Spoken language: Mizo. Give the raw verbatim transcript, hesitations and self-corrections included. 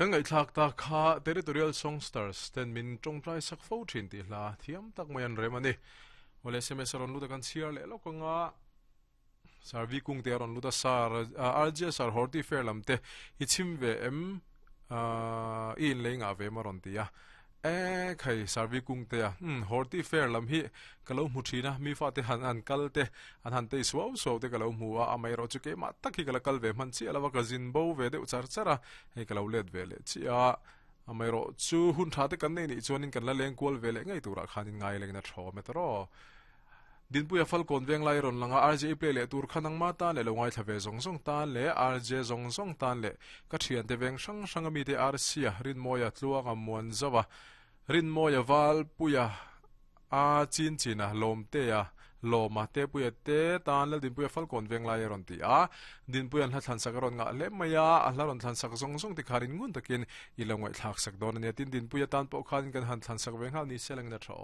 Kan ngai thlak ta kha Territorial Songsters ten min tawngtai sak fo thin ti hla thiam tak mai an rem ani. Ole S M S ron luta kan chhiar leh lawk anga. Sarvi kung te ron luta sar R J sar horti fair lam te hi chim ve em in leinga ve ma ron tia e khai sarvi kung te a um horti fair lam hi kalo mu thina mi fa te han an kal te an han te suau suau te kalo mu a amai ro chu ke ma tak hi kala kal ve man chi alawa ka zin bo ve deuh char chara hei kalo let ve le chi a amai ro chu hun tha te kan nei ni chuanin kan la leng kual ve le ngai tura khanin ngai leng na tho me tro Dinpuia Falcon veng lai ron langa R J play le tur khanang ma ta le lo ngai thlave zong zong tan le R J zong zong tan le ka thian te veng sang sang ami te R C a rin moya tluanga muan zawa rin moya wal puya a chin china lom te a loma te puya te tan le Dinpuia Falcon veng lai ron ti a Dinpuian hla thlan sak ron nga le maya a hla ron thlan sak zong zong ti kharin ngun takin i lo ngai thlak sak don ania tin Dinpuia tan pawh khanin kan han thlan sak veng hal ni seleng na tha.